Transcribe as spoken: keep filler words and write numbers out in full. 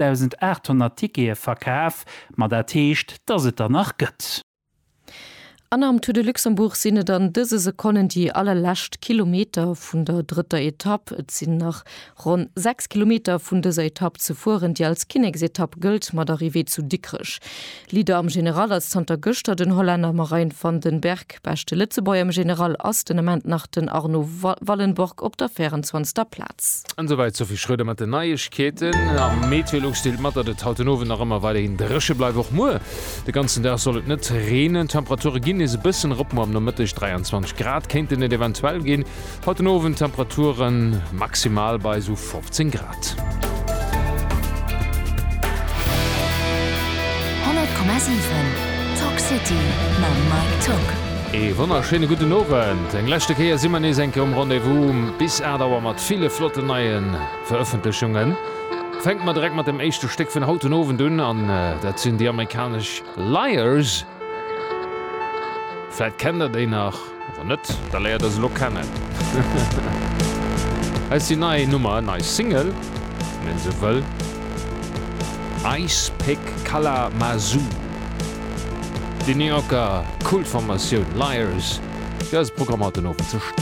dausendaathonnert Tickete verkaf, ma dat heescht, dass et der nach gëtt. An am Tour de Luxembourg sinn et an dëse Sekonnen déi allerlescht Kilometer vun der drëtter Etapp. Et sinn nach ronn sechs Kilometer vun dëser Etapp ze fueren, déi als Kinneksetapp gëllt mat Arrivée zu Dikrech. Leader am General ass zanter gëschter den Hollänner Marijn van den Berg. Beschte Lëtzebuerger am General ass den Ament nach den Arno Wallenborg op der véierenzwanzegster Plaz. An esouwäit d'Sophie Schröder mat den Neiegkeeten. A Meteolux deelt mat, datt et haut den Owend nach ëmmer weiderhin dréche bleift, och muer de ganzen Dag soll et net reenen. D'Temperature ginn nees e bëssen erop, muer am Nomëtteg dräianzwanzeg Grad kéinten et eventuell ginn, haut den Owend Temperaturen maximal bei esou fofzéng Grad. Honnert Komma siwen, Talk City mam Mike Tock. Ee wonnerschéine gudden Owend. Eng leschte Kéier si mer nees eng Kéier um Rendez-vous bis aacht Auer mat ville flotten neie Verëffentlechungen. Fänke mer direkt mat dem éischte Stéck vun haut den Owend un an dat sinn déi amerikanesch Liars. Vläit kennt der déi nach, wann net, da léiert der se elo kennen. Hei ass déi nei Nummer, nei Single, wann een esou wëll, Ice Pick Kalamazoo. Déi New Yorker Kultformatioun Liars, fir eise Programm haut den Owend ze stëmmen.